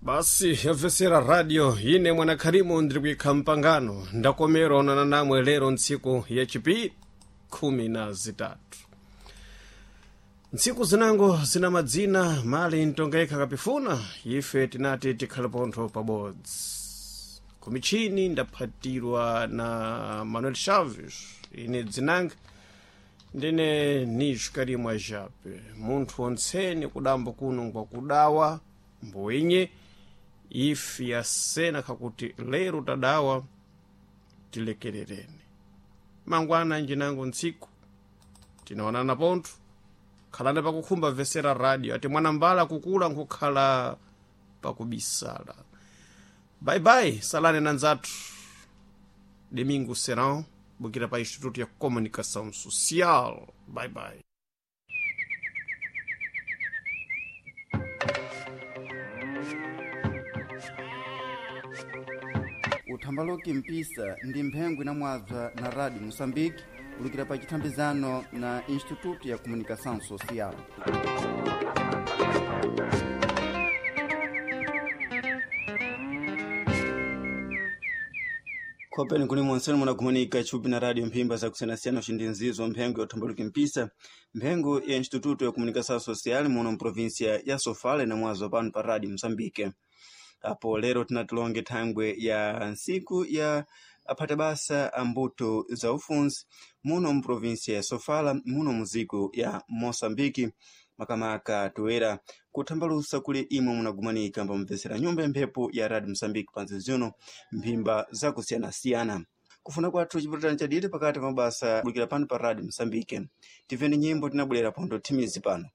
Basi yabvesera radio ine mwanakhalimu ndiri kuyikha mpangano ndakomera onana namwe lero ntsiku yachipiri 13 ntsiku zinango zina madzina mali ntonga yekha kapifuna ife tinati tikhale pontho pabodzi kumichini ndaphatirwa na Manuel Chaves, ine dzinanga ndine Nijo Karimwa Jape. Munthu ontseni kudambo kuno ngwakudawa mboinye ife yasena kakuti lero tadawa tilekerereni mangwana njinango ntsiku tinaonana pontho. Khalani pakukhumba vesera radio ati mwanambala kukula nkukhala pakubisala. Bye-bye, salani na nzathu Domingo Serão bukira pa Instituto ya Comunicação Social. Bye-bye. Uthambaloki mpisa ndi mphengo inamwabza na Radio Moçambique kulukira pa chithambizano na Instituto ya Comunicação Social. Khopeni kuli monseni munagumanika chupi na radio mphimba zakusiyanasiyana ucindinzizo mphengo ya uthambaluki mpisa, mphengo ya Instituto ya Comunicação Social muno mprovinsia ya Sofala inamwazo pano pa Radio Moçambique. Apo lero tinatilonge thangwe ya ntsiku ya aphata basa a mbuto za ufunzi muno mprovinsia ya Sofala muno muziko ya Moçambique, makamaka toera kuthambalusa kuli imwe munagumanika mbamvesera nyumba ya mphepo ya Radio Moçambique panzi zino mphimba zakusiyanasiyana. Kufuna kwathu chipatana chaditi pakati pa mabasa bulukira pano pa Radio Moçambique. Tiveni nyimbo tinabwerera pondo thimizi pano.